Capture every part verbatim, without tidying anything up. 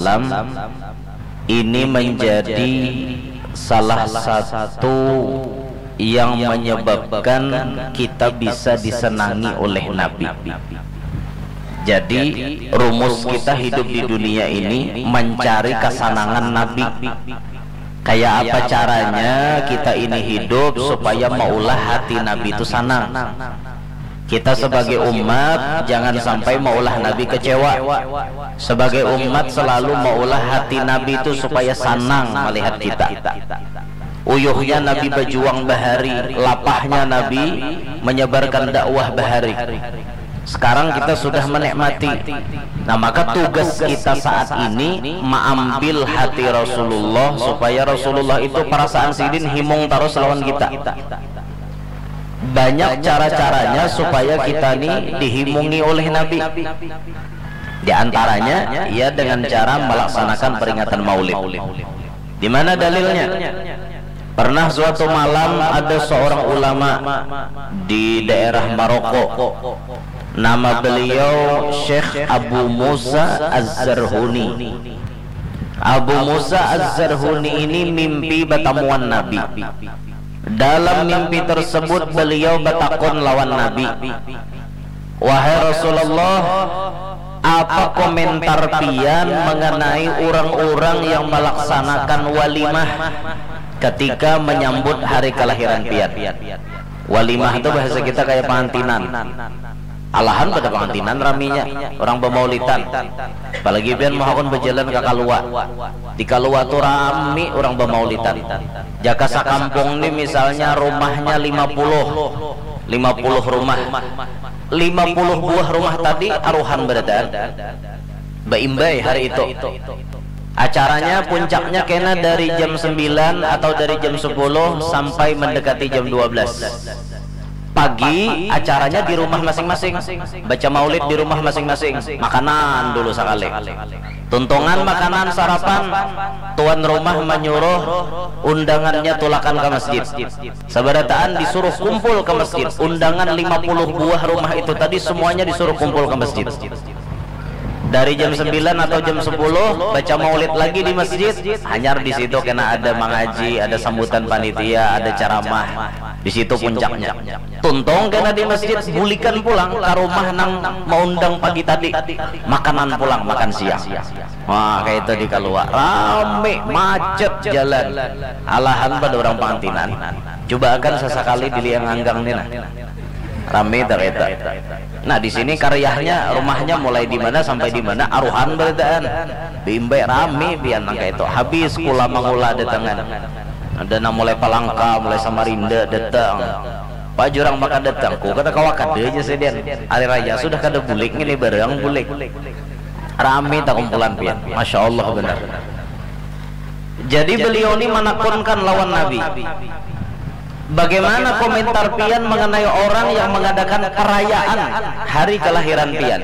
Islam ini menjadi salah satu yang menyebabkan kita bisa disenangi oleh Nabi. Jadi, rumus kita hidup di dunia ini mencari kesenangan Nabi. Kayak apa caranya kita ini hidup supaya maulah hati Nabi itu senang? Kita sebagai umat jangan sampai maulah Nabi kecewa. Sebagai umat selalu maulah hati Nabi itu supaya senang melihat kita. Uyuhnya Nabi berjuang bahari, lapahnya Nabi menyebarkan dakwah bahari. Sekarang kita sudah menikmati. Nah, maka tugas kita saat ini mengambil hati Rasulullah supaya Rasulullah itu perasaan sidin himung terus lawan kita. Banyak cara-caranya supaya kita ni dihimungi oleh Nabi. Di antaranya, ya, dengan cara melaksanakan peringatan Maulid. Di mana dalilnya? Pernah suatu malam ada seorang ulama di daerah Maroko. Nama beliau Syekh Abu Musa Az-Zarhuni. Abu Musa Az-Zarhuni ini mimpi batamuan Nabi. Dalam mimpi tersebut beliau batakun lawan Nabi, "Wahai Rasulullah, apa komentar pian mengenai urang-urang yang melaksanakan walimah ketika menyambut hari kelahiran pian?" Walimah tu bahasa kita kaya pangantinan. Alahan pada pangantinan raminya, urang bamaulitan. Apalagi pian muhakun bajalan ka Kalua. Di Kalua tu rami urang bamaulitan. Jaka sakampung ni misalnya rumahnya lima puluh, lima puluh rumah. Lima puluh buah rumah tadi aruhan barataan. Baimbai hari itu. Acaranya puncaknya kena dari jam sembilan atau dari jam sepuluh sampai mendekati jam dua belas. Pagi acaranya di rumah masing-masing. Baca maulid di rumah masing-masing. Makanan dulu sakali. Tuntungan makanan sarapan, tuan rumah manyuruh undangannya tulakan ka masjid. Sabarataan disuruh kumpul ka masjid. Undangan lima puluh buah rumah itu tadi semuanya disuruh kumpul ka masjid. Dari jam sembilan atau jam sepuluh baca maulid lagi di masjid, hanyar di situ kena ada mangaji, ada sambutan panitia, ada ceramah. Di situ puncaknya. Tuntung kena di masjid, bulikan pulang ka rumah nang maundang pagi tadi. Makanan pulang, makan siang. Wah, kaya itu di Kalua. Rami, macet jalan. Alahan pada urang pangantinan. Cubaakan sasakali di Liang Anggang ni nah. Rami tak kaya itu. Nah, di sini karyahnya, rumahnya mulai di mana sampai di mana, aruhan barataan. Baimbai rami pian nang kaya itu. Habis kula mangula datangan. Ada nang mulai Palangka, mulai Samarinda datang. Apa jua urang maka datang, ku kata kawa kada ja sidin. Hari raya sudah kada bulik ngini, barang bulik. Rami takumpulan pian. Masya Allah banar. Jadi beliau ni manakunkan lawan Nabi. Bagaimana komentar pian mengenai orang yang mengadakan perayaan hari kelahiran pian?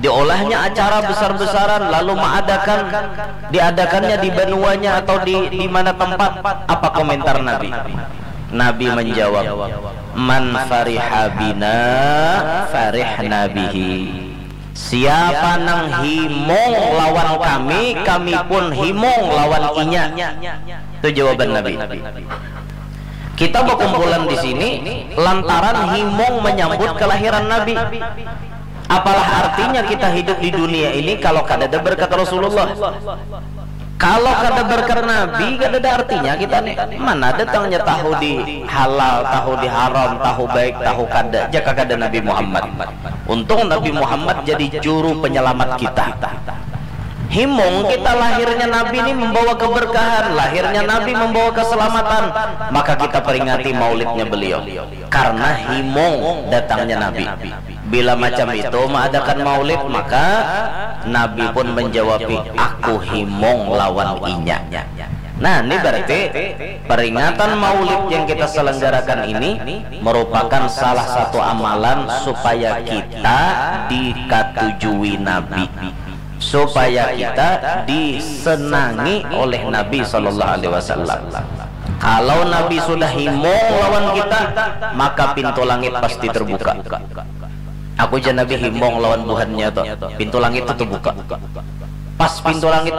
Diolahnya acara besar-besaran lalu mengadakan, diadakannya di banuanya atau di di mana tempat, apa komentar Nabi? Nabi menjawab, "Man fariha bina farihna bihi." Siapa nang himung lawan kami, kami pun himung lawan inya. Itu jawaban Nabi. Kita berkumpulan di sini lantaran himung menyambut kelahiran Nabi. Apalah artinya kita hidup di dunia ini kalau kada ada berkat Rasulullah? Kalau kada berkat Nabi, kada ada artinya kita nih. Mana datangnya tahu di halal, tahu di haram, tahu baik, tahu kada, jaka kada Nabi Muhammad. Untung Nabi Muhammad jadi juru penyelamat kita. Himung kita lahirnya Nabi ini membawa keberkahan, lahirnya Nabi membawa keselamatan, maka kita peringati maulidnya beliau. Karena himung datangnya Nabi. Bila macam itu mengadakan maulid, maka Nabi pun menjawabi, "Aku himung lawan inya." Nah, ini berarti peringatan maulid yang kita selenggarakan ini merupakan salah satu amalan supaya kita dikatujui Nabi, supaya kita disenangi oleh Nabi Shallallahu Alaihi Wasallam. Kalau Nabi sudah himung lawan kita, maka pintu langit pasti terbuka. Aku jar Nabi himung lawan buhannya tuh, pintu langit itu terbuka. Pas pintu langit